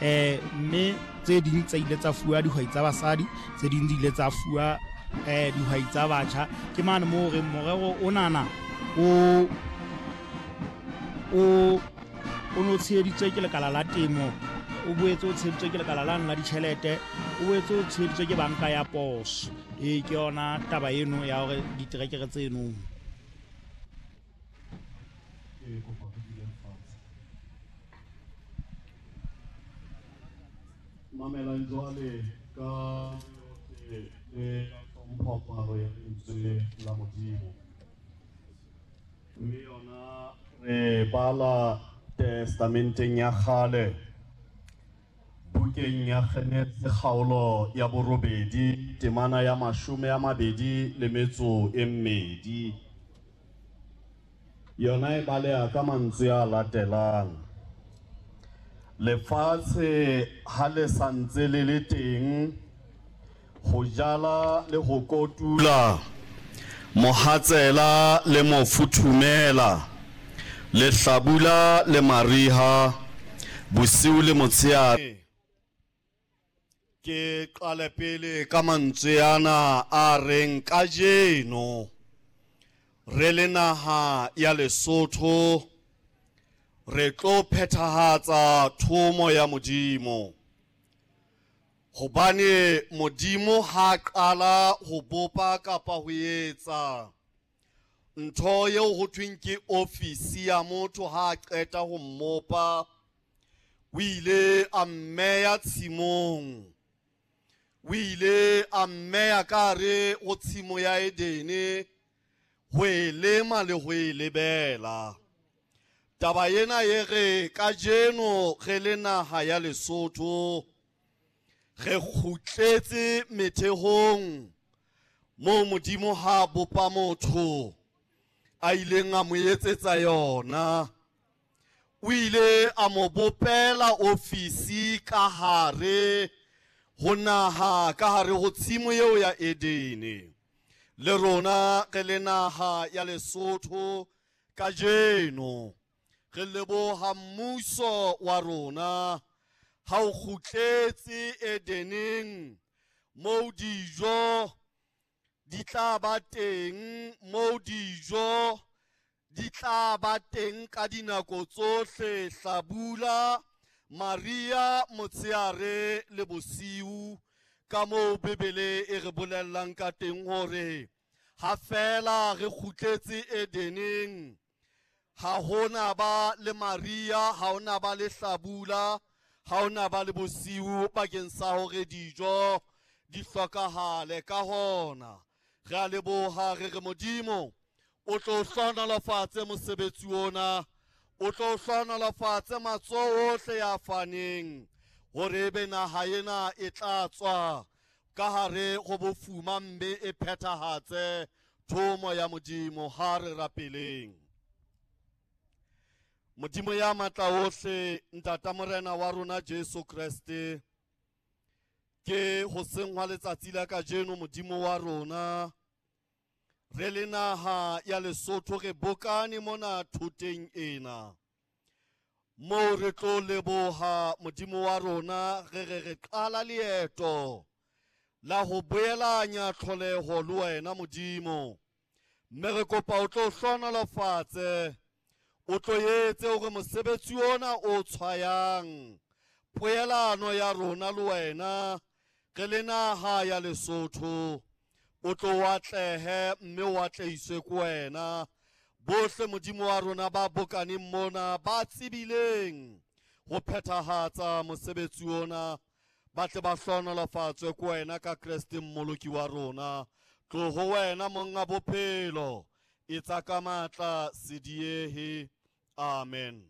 Mme tse ding tsa ile tsa fuwa dihwai tsa basadi, tse ding di ile tsa fuwa dihwai tsa batjha. Ke mane moo re morero onana o o o no tsheheditswe ke lekala la temo, o boetse o tsheheditswe ke lekala lane la ditjhelete, o boetse o tsheheditswe ke banka ya poso. Ee, ke yona taba eno ya hore diterekere tseno. Ke kopa re dule fatshe. Mamelang jwale ka yohle le ka hlompho palo ya lentswe la Modimo. Mme yona re bala Testamenteng ya Kgale, bukeng ya Genese kgaolo ya borobedi, temana ya 22. Yona e baleha ka mantswe a latelang: Lefatshe ha le sa ntse le le teng, ho jala le ho kotula, mohatsela le mofuthumela, lehlabula le mariha, bosiu le motshehare. Ke qale pele ka mantswe ana a reng kajeno re le naha ya Lesotho re tlo phethahatsa thomo ya Modimo. Hobane Modimo ha qala ho bopa kapa ho etsa ntho eo ho thweng ke ofisi ya motho, ha qeta ho mmopa o ile a mmeya tshimong, o ile a mmeya ka hare ho tshimo ya Edene ho e lema le ho e lebela. Taba ena e re kajeno re le naha ya Lesotho re kgutletse methehong moo Modimo ha bopa motho a ileng a mo etsetsa yona. O ile a mo bopela ofisi ka hare ho naha, ka hare ho tshimo eo ya Edene. Le rona re le naha ya Lesotho kajeno re leboha mmuso wa rona ha o kgutletse Edeneng moo dijo di tla ba teng, moo dijo di tla ba teng ka dinako tsohle, hlabula, mariha, motshehare le bosiu, ka moo Bibele e re bolellang ka teng hore ha fela re kgutletse Edeneng ha hona ba le mariha, ha hona ba le hlabula, ha hona ba le bosiu bakeng sa hore dijo di hlokahale. Ka hona re a leboha, re re Modimo o tlo hlohonolofatse mosebetsi ona, o tlo hlohonolofatse matsoho ohle ya faneng hore ebe naha ena e tla tswa ka hare ho bofuma mme e phethahatse thomo ya Modimo. Ha re rapeleng. Modimo ya matla ohle, Ntata Morena wa rona Jesu Kreste, ke hoseng hwa letsatsi la kajeno Modimo wa rona re le naha ya Lesotho re bokane mona thoteng ena moo re tlo leboha Modimo wa rona, re re re qala leeto la ho boelanya tlholeho le wena Modimo, mme re kopa o tlo hlohonolofatse, o tlo etse hore mosebetsi ona o tshwayang poelano ya rona le wena re le naha ya Lesotho o tlo atlehe mme o atlehiswe ke wena. Bohle Modimo wa rona ba bokaneng mona ba tsebileng ho phethahatsa mosebetsi ona ba tle ba hlohonolofatswe ke wena ka Kreste mmoloki wa rona. Tlo ho wena monga bophelo, etsa ka matla, se diehe. Amen.